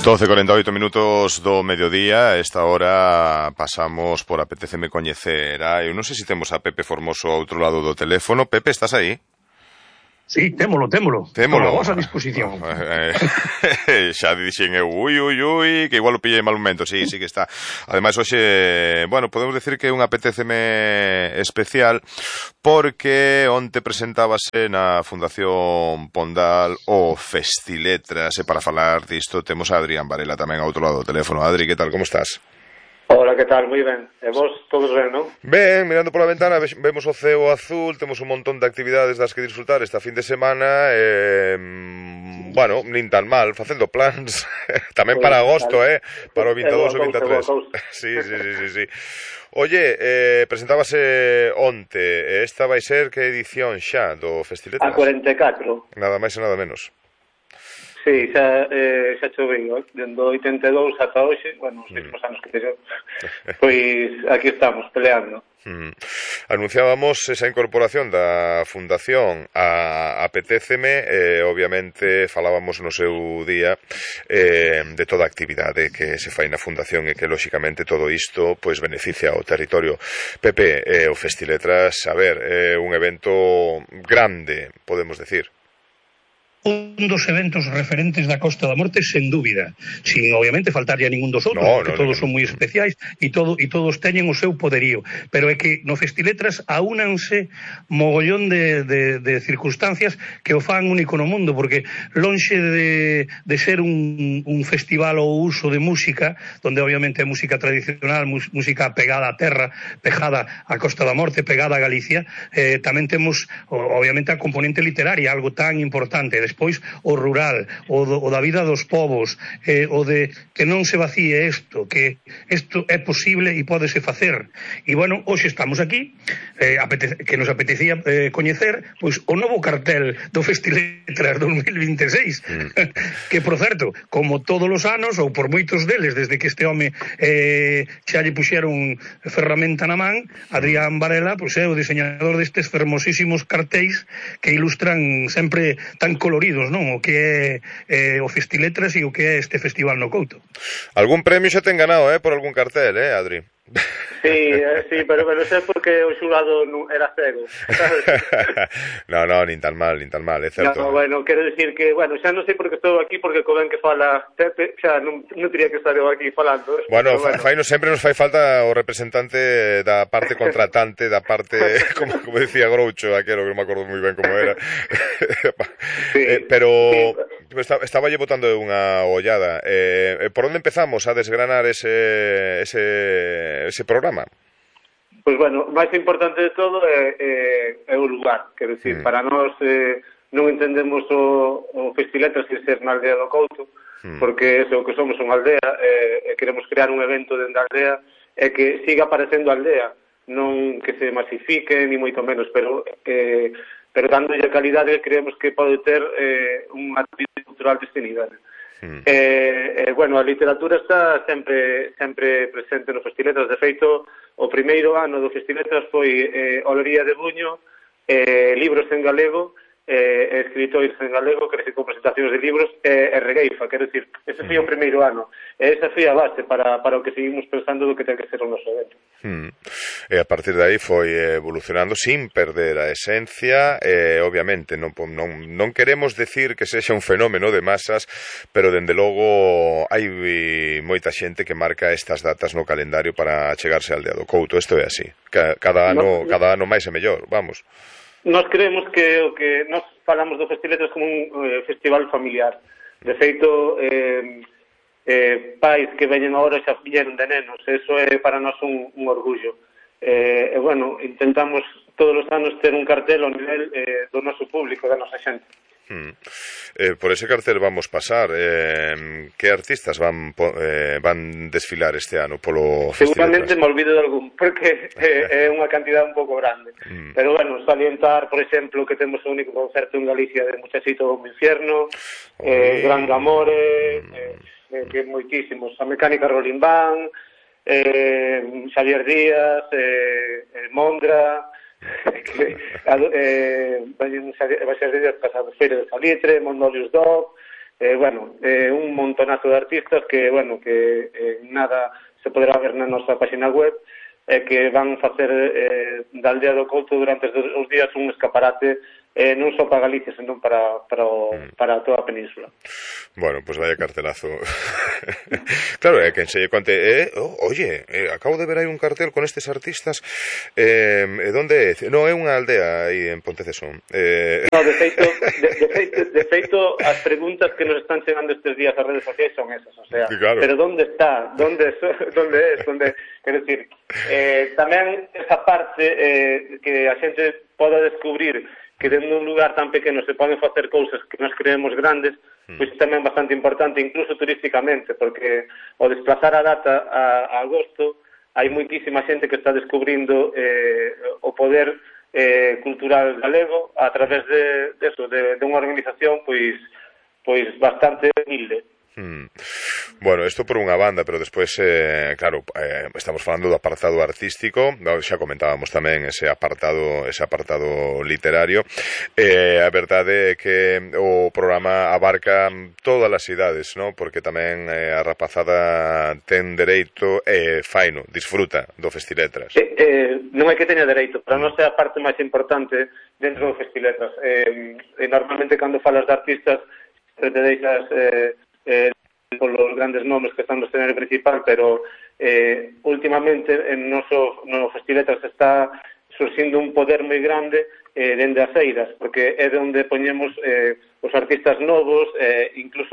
12:48 minutos do mediodía. A esta hora pasamos por Apetéceme coñecer. Eu non sei se temos a Pepe Formoso ao outro lado do teléfono. Pepe, estás aí? Sí, témolo. Témolo. A vosa disposición. Xa dixen eu, ui, que igual o pillei en mal momento. Sí que está. Ademais, hoxe, bueno, podemos decir que é un Apetéceme especial porque onte presentábase na Fundación Pondal o Festiletras, e para falar disto temos a Adrián Varela tamén ao outro lado do teléfono. Adri, que tal, como estás? Hola, que tal? Moi ben. E vos, todos ben, non? Ben, mirando pola ventana, vemos o ceo azul, temos un montón de actividades das que disfrutar esta fin de semana, bueno, nin tan mal, facendo plans, tamén para agosto, para o 22 ou 23. Sí. Oye, presentábase onte, esta vai ser que edición xa do Festiletras? A 44. Nada máis e nada menos. Sí, xa choveu, dendo 82 ata hoxe, bueno, os mesmos anos que teño, pois aquí estamos, peleando. Anunciábamos esa incorporación da Fundación a Apetéceme, obviamente falábamos no seu día de toda a actividade que se fai na Fundación e que, lóxicamente, todo isto pois beneficia ao territorio. Pepe, o Festiletras, a ver, un evento grande, podemos decir. Un dos eventos referentes da Costa da Morte, sen dúbida, sin obviamente faltarlle a ningún dos outros, porque todos son moi especiais e todos teñen o seu poderío, pero é que no Festiletras aúnanse mogollón de circunstancias que o fan único no mundo, porque lonxe de ser un festival ou uso de música, donde obviamente é música tradicional, música pegada á terra, pegada á Costa da Morte, pegada a Galicia, tamén temos obviamente a componente literaria, algo tan importante. Despois o rural, o da vida dos povos, o de que non se vacíe isto, que isto é posible e pódese facer. E bueno, hoxe estamos aquí, que nos apetecía coñecer pois o novo cartel do Festiletras 2026, que, por certo, como todos os anos, ou por moitos deles, desde que este home xa lle puxeron ferramenta na man, Adrián Varela pois é o diseñador destes fermosísimos cartéis que ilustran sempre tan coloridos, non? O que é o Festiletras e o que é este festival no Couto. Algún premio xa ten ganado, por algún cartel, Adri? Sí, pero sei porque o xurado era cego, sabes? No, nin tan mal, é certo. No, bueno, quero dicir que, bueno, xa non sei por que estou aquí, porque co ben que fala Pepe, xa non teria que estar eu aquí falando. Bueno, sempre nos fai falta o representante da parte contratante, da parte, como decía Groucho, aquelo que non me acordo moi ben como era. Pero estaba lle botando unha ollada. Por onde empezamos a desgranar ese programa? Pois, bueno, o máis importante de todo é o lugar, quero dicir, para nós non entendemos o Festiletras sin ser na aldea do Couto, porque é o que somos unha aldea, e queremos crear un evento dentro da aldea e que siga aparecendo a aldea, non que se masifique, ni moito menos, pero dándolle a calidade que creemos que pode ter unha actividade cultural deste nivel. Bueno, a literatura está sempre presente no Festiletras. De feito, o primeiro ano do Festiletras foi Olería de Buño, libros en galego, escritores en galego, que recicou presentacións de libros, e regueifa, quero dicir, ese foi o primeiro ano, e esa foi a base para o que seguimos pensando do que ten que ser o noso evento. E a partir de aí foi evolucionando sin perder a esencia, obviamente non queremos decir que sexa un fenómeno de masas, pero dende logo hai moita xente que marca estas datas no calendario para chegarse á aldea do Couto. Isto é así, cada ano máis e mellor, vamos. Nós creemos que o que nós falamos do Festiletras como un festival familiar. De feito, pais que veñen agora xa vieron de nenos, eso é para nós un orgullo. E, bueno, intentamos todos os anos ter un cartel ao nivel do noso público, da nosa xente. Por ese cartel vamos pasar. Que artistas van desfilar este ano polo Festiletras? Seguramente me olvido de algún, porque é unha cantidad un pouco grande. Pero, bueno, salientar, por exemplo, que temos o único concerto en Galicia de Muchachito do Infierno, Gran Amore, que moitísimos, a Mecánica Rolling Band, Xavier Díaz, Mondra, vai ser de pasado Feira de Salitre, Mondolius Dog, un montonazo de artistas que nada se poderá ver na nosa página web, que van facer da Aldea do Couto durante os días un escaparate non só para Galicia, senón para toda a península. Bueno, pues vaya cartelazo. Claro, que enseñe conte, oye, acabo de ver aí un cartel con estes artistas, donde é? No, é unha aldea aí en Pontecesón. No, de feito, as preguntas que nos están chegando estes días ás redes sociais son esas, o sea, claro. Pero ¿dónde está? ¿Dónde es? Quero dicir, tamén esa parte que a xente poda descubrir que dentro de un lugar tan pequeno se poden facer cousas que nos creemos grandes, pois tamén bastante importante, incluso turísticamente, porque ao desplazar a data a agosto, hai moitísima xente que está descubrindo o poder cultural galego a través de unha organización pois bastante humilde. Bueno, isto por unha banda, pero despois, claro, estamos falando do apartado artístico, xa comentábamos tamén ese apartado literario. A verdade é que o programa abarca todas as idades, ¿no? Porque tamén a rapazada ten dereito faino, disfruta do Festiletras. Non é que teña dereito, para nós é a parte máis importante dentro do Festiletras. Normalmente cando falas de artistas te deixas polos grandes nomes que están no escenario principal, pero últimamente no Festiletras está surxindo un poder moi grande dende as eiras, porque é onde poñemos os artistas novos, incluso